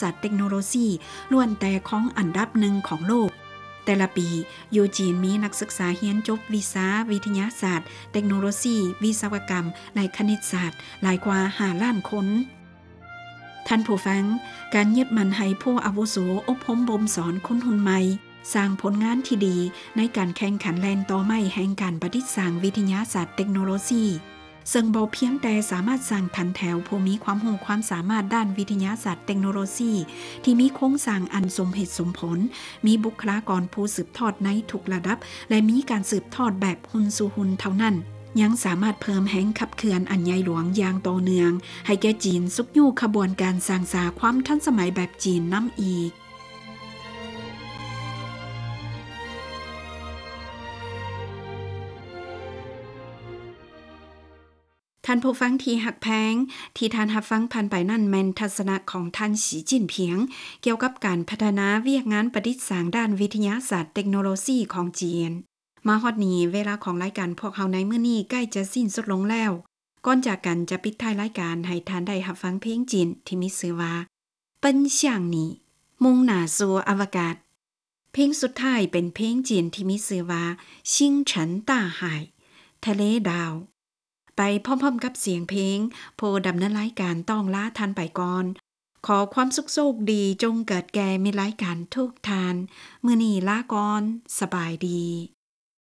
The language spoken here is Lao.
ສາດເຕັກໂນໂລຊີ ລ້ວນແຕ່ຄອງອັນດັບໜຶ່ງຂອງໂລກ. ແຕ່ລະປີ, ຢູ່ຈີນມີນັກສຶກສາຮຽນຈົບວິຊາວິທະຍາສາດ, ເຕັກໂນໂລຊີ, ວິສະວະກຳ ແລະ ຄະນິດສາດ ຫຼາຍກວ່າຫ້າລ້ານຄົນ. ທ່ານຜູ້ຟັງ, ການຍຶດໝັ້ນໃຫ້ຜູ້ອາວຸໂສອົບຮົມບົ່ມສອນຄົນຮຸ່ນໃໝ່, ສ້າງຜົນງານທີ່ດີໃນການແຂ່ງຂັນແລ່ນຕໍ່ໄມ້ແຫ່ງການປະດິດສ້າງວິທະຍາສາດເຕັກໂນໂລຊີ, ເຊິ່ງບໍ່ພຽງແຕ່ສາມາດສ້າງຖັນແຖວຜູ້ມີຄວາມຮູ້ຄວາມສາມາດດ້ານວິທະຍາສາດເຕັກໂນໂລຊີ ທີ່ມີໂຄງສ້າງອັນສົມເຫດສົມຜົນ, ມີບຸກຄະລາກອນຜູ້ສືບທອດໃນທຸກລະດັບ ແລະ ມີການສືບທອດແບບຮຸ່ນສູ່ຮຸ່ນເທົ່ານັ້ນ, ຍັງສາມາດເພີ່ມແຮງຂັບເຄື່ອນອັນໃຫຍ່ຫຼວງຢ່າງຕໍ່ເນື່ອງ ໃຫ້ແກ່ຈີນຊຸກຍູ້ຂະບວນການສ້າງສາຄວາມທັນສະໄໝແບບຈີນນຳອີກ. ທ່ານຜູ້ຟັງທີ່ຮັກແພງ, ທີ່ທ່ານຮັບຟັງຜ່ານໄປນັ້ນແມ່ນທັດສະນະຂອງທ່ານ ສີ ຈິ້ນຜິງ ກ່ຽວກັບການພັດທະນາວຽກງານປະດິດສ້າງດ້ານວິທະຍາສາດເຕັກໂນໂລຊີຂອງຈີນ. ມາຮອດນີ້, ເວລາຂອງລາຍການພວກເຮົາໃນມື້ນີ້ໃກ້ຈະສິ້ນສຸດລົງແລ້ວ. ກ່ອນຈາກກັນຈະປິດທ້າຍລາຍການໃຫ້ທ່ານໄດ້ຮັບຟັງເພງຈີນທີ່ມີຊື່ວ່າ 奔向你 ມຸ່ງໜ້າສູ່ອະວະກາດ. ເພງສຸດທ້າຍເປັນເພງຈີນທີ່ມີຊື່ວ່າ 星辰大海 ທະເລດາວ. ໄປພ້ອມໆກັບສຽງເພງ, ຜູ້ດຳເນີນລາຍການຕ້ອງລາທ່ານໄປກ່ອນ. ຂໍຄວາມສຸກໂຊກດີຈົ່ງເກີດແກ່ມິດລາຍການທຸກທ່ານ. ມື້ນີ້ລາກ່ອນ. ສະບາຍດີ.